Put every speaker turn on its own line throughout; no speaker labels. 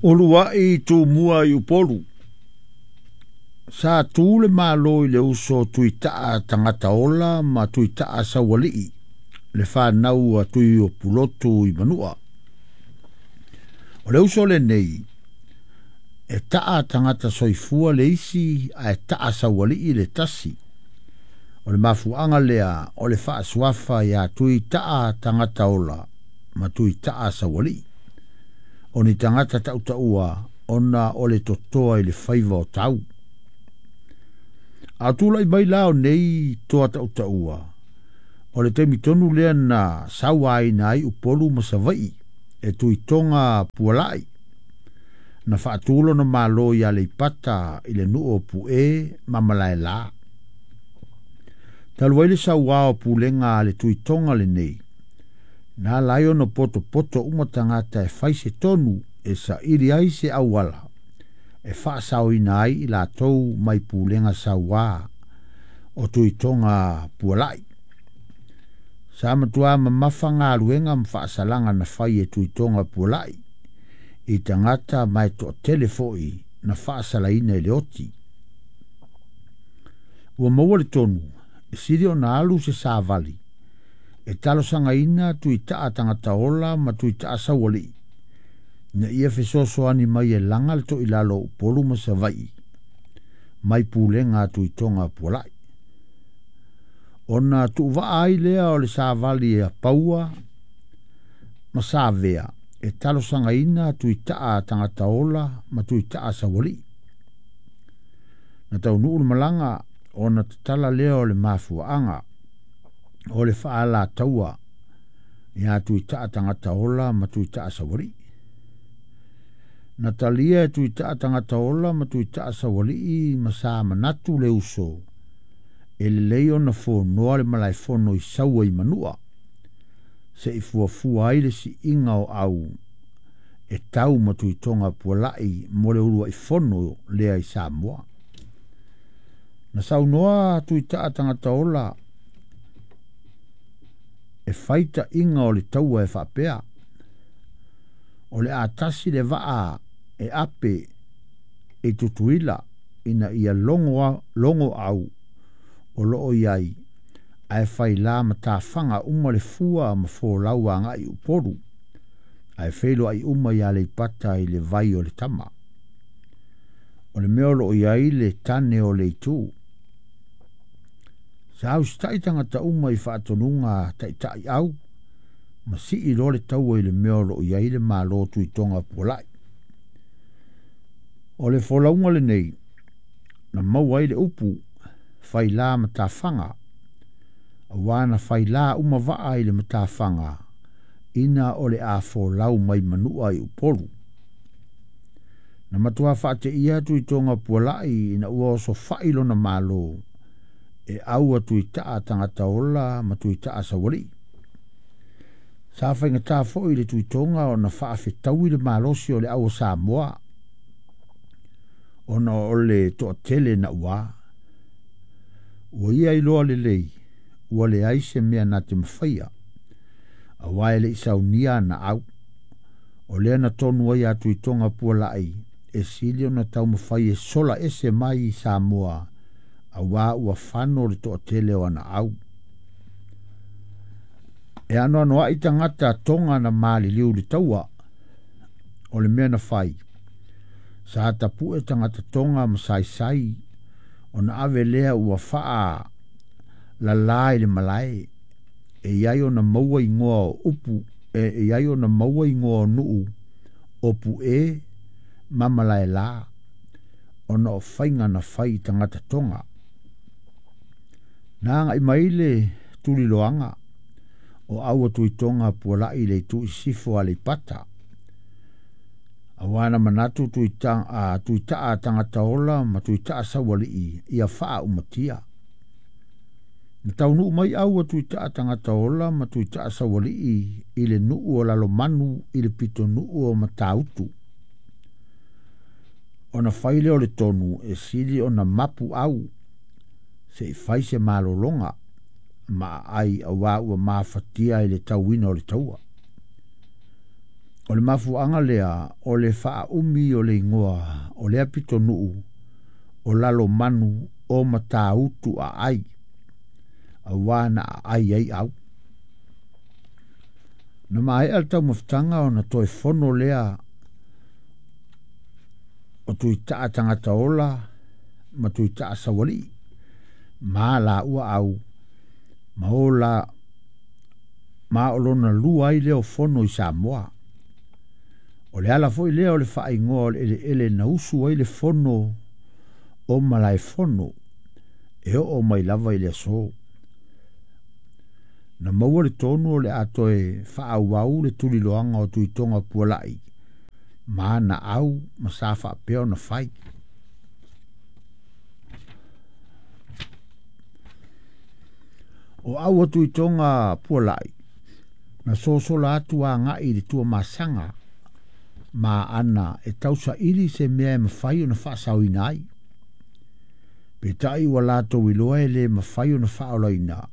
Uluai Tumua i Upolu. Sa tu le Malo i le uso Tuitaa tagata ola ma Tuitaa saualii, le fanau a Tuiopulotu i Manua. O le uso lenei, e taa tagata soifua le isi ae taa saualii le tasi. O le mafuaaga lea o le faasuafa ia Tuitaa tagata ola ma Tuitaa saualii. O ni tagata tautaua ona o le totoa i le faiva o tau. A tulai mai la o nei toa tautaua, o le taimi tonu lea na sauaina ai Upolu ma Savaii e Tuitoga Pualai, na faatu lona malo i Aleipata i le nuu o Pue ma Malaela. Talu ai le sauā o pulega a le Tuitoga lenei, na ala ai ona potopoto uma tagata e fai se tonu e saili ai se auala e faasaoina ai i latou mai pulega sauā o Tuitoga Pualai. Sa matua mamafa galuega ma faasalaga na fai e Tuitoga Pualai i tagata ma e toatele foi na faasalaina i le oti. Ua maua le tonu e sili ona alu se savali e talosagaina Tuitaa tagata ola ma Tuitaa saualii ina ia fesoasoani mai e laga le toilalo o Upolu ma Savaii mai pulega a Tuitoga Pualai. Ona tuuvaa ai lea o le savali a Paua ma Savea e talosagaina Tuitaa tagata ola ma Tuitaa saualii. Na taunuu le malaga ona tatala lea o le mafuaaga o le faalataua ia Tuitaa tagata ola ma Tuitaa saualii. Na talia e Tuitaa tagata ola ma Tuitaa saualii ma sa manatu le uso e lelei ona fonoa le malaefono i Saua i Manua, se i fuafua ai le siiga o au e tau ma Tuitoga Pualai mo le uluai fono lea i Samoa. Na saunoa Tuitaa tagata ola e fai taiga o le taua e faapea, o le a tasi le vaa e ape i Tutuila ina ia logo au o loo iai ae fai la matafaga uma le fua ma folau agai Upolu ae feiloai uma i Aleipata i le vai o le tama. O le mea o loo iai le tane o le itu. Sa usitai tagata uma i faatonuga taitai au ma sii loa le taua i le mea o loo iai le Malo Tuitoga Pualai. O le folauga lenei na maua ai le upu faila matafaga, auā na faila uma vaa i le matafaga ina o le a folau mai Manua i Upolu. Na matua faateia Tuitoga Pualai ina ua osofai lona malo e au a Tuitaa tagata ola ma Tuitaa saualii. Sa faigata foi le Tuitoga ona faafetaui le malosi o le au o Samoa, ona o le toatele nauā. Ua ia iloa lelei, ua leai se mea na te mafaia, auā e le i saunia ana au. O lea na tonu ai a Tuitoga Pualai e sili ona taumafai e sola ese mai i Samoa, auā ua fano le toatele o ana au. E anoanoai tagata toga na maliliu i le taua, o le mea na fai. Sa tapue tagata toga ma saisai, ona ave lea ua faa lalā i le malae, e iai ona maua igoa o upu, e iai ona maua igoa o nuu o Pue ma Malaela, ona o faiga na fai i tagata toga. Na agai mai le tuliloaga o au a Tuitoga Pualai i le itu i sisifo o Aleipata. Auā na manatu Tuitaa tagata ola ma Tuitaa saualii ia faaumatia. Na taunuu mai au a Tuitaa tagata ola ma Tuitaa saualii i le nuu o Lalomanu i le pitonuu o Matautu. Ona fai lea o le tonu e sili ona mapu au se i fai se malologa ma aai auā ua mafatia i le tauina o le taua. O le mafuaaga lea o le faaumi o le igoa o lea pitonuu o Lalomanu o Matautu Aai, auā na aai ai au. Na maea le taumafataga ona toe fono lea o Tuitaa tagata ola ma Tuitaa saualii ma laua au ma o la ma o lona lua ai lea o fono i Samoa. O le ala foi lea o le faaigoa o le eleele na usu ai le fono o Malaefono e oo mai lava i le aso. Na maua le tonu o le a toe faaauau le tuliloaga o Tuitoga Pualai ma ana au ma sa faapea ona fai. O au a Tuitoga Pualai na sosola atu agai i le Tuamasaga ma ana e tausaili se mea e mafai ona faasaoina ai. Peitai ua latou iloa e le mafai ona faaolaina,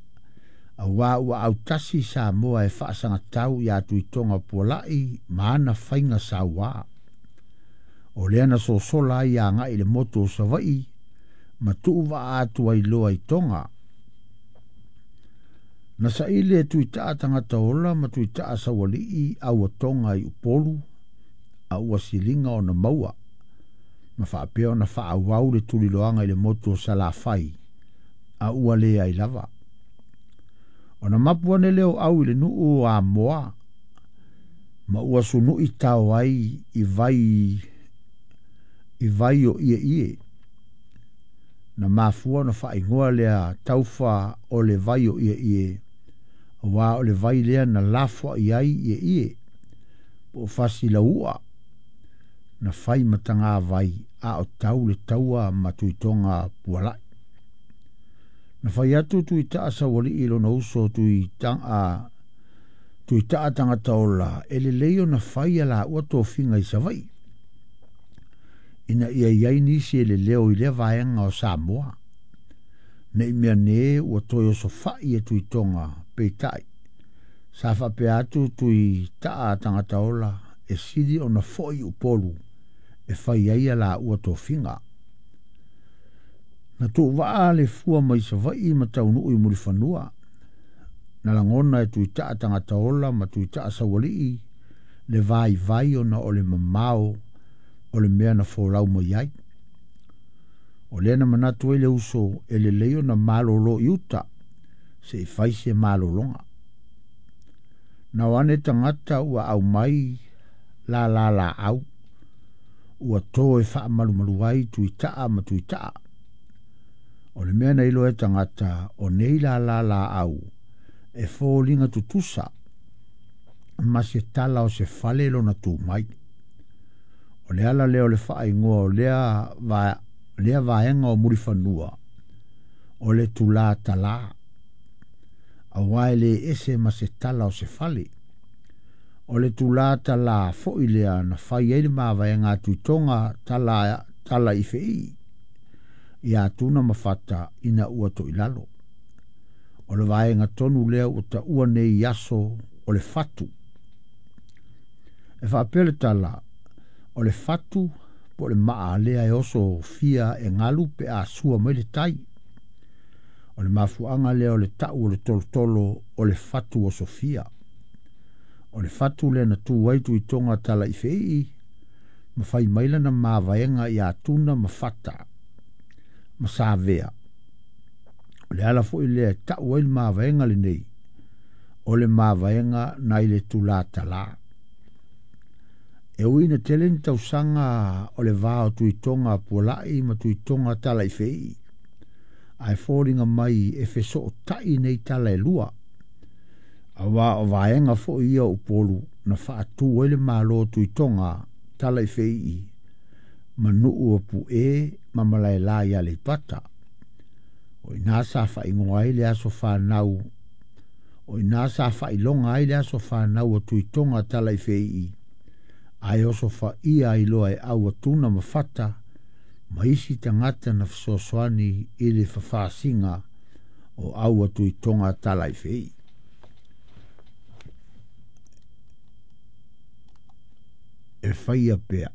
auā ua autasi Samoa e faasagatau iā Tuitoga Pualai ma ana faiga sauā. O lea na sosola ai agai i le motu o Savaii ma tuuvaa atu ai loa i Toga. Na saili e Tuitaa tagata ola ma Tuitaa saualii au a Toga i Upolu a ua siliga ona maua ma faapea ona faaauau le tuliloaga i le motu o Salafai a ua leai lava. Ona mapu ane lea o au i le nuu o Amoa ma ua sunui tao ai i vai i vai o ieie. Na mafua ona faaigoa lea taufa o le vai o ieie, auā o le vai lea na lafoai ai ieie, po o fasilaua na fai ma tagavai a o tau le taua ma Tuitoga Pualai. Na fai atu Tuitaa saualii i lona uso Tuitaa tagata ola e lelei ona fai a laua tofiga i Savaii, ina ia i ai nisi e leleo i lea vaega o Samoa. Nei mea ne ua toe osofai e Tuitoga peitai. Sa faapea atu Tuitaa tagata ola e sili ona foi i Upolu e fai ai a laua tofiga. Na tuuvaa le fua mai Savaii ma taunuu i Mulifanua. Na lagona e Tuitaa tagata ola ma Tuitaa saualii le vaivai ona o le mamao o le mea na folau mai ai. O lea na manatu ai le uso e lelei ona malolo i uta se i fai se malologa. Na o ane tagata ua aumai la la laau ua to e faamalumalu ai Tuitaa ma Tuitaa. O le mea na iloa e tagata o nei la la laau e foliga tutusa ma se tala o se fale lona tu mai. O le ala lea o le faaigoa o lea vaega o Mulifanua o le tulā talā, auā e le ese ma se tala o se fale. O le tulā talā foi lea na fai ai le mavaega a Tuitoga tala i feii ia Tuna ma Fata ina ua toilalo. O le vaega tonu lea ua taua nei aso o le fatu. E faapea le tala, o le fatu po o le maa lea e oso fia e galu pe a sua mai le tai. O le mafuaaga lea o le tau o le tolotolo o le fatu o Sofia. O le fatu lea na tu ai Tuitoga tala i feii ma fai mai lana mavaega ia Tuna ma Fata ma Savea. O le ala foi lea e tau ai le mavaega lenei, o le mavaega nai le tulā talā. E ui ina tele ni tausaga o le va o Tuitoga Pualai ma Tuitoga tala i feii, ae foliga mai e fesootai nei tala e lua. Auā o vaega foi ia o Upolu na faatu ai le malo o Tuitoga tala i feii ma nuu o Pu'e ma Malaela i Aleipata. O ina sa faaigoa ai le aso fanau, o ina sa faailoga ai le aso fanau o Tuitoga tala i feii, ae oso faia ai loa e au a Tuna ma Fata ma isi tagata na fesoasoani i le fafasiga o au a Tuitoga tala i feii. e faia pea.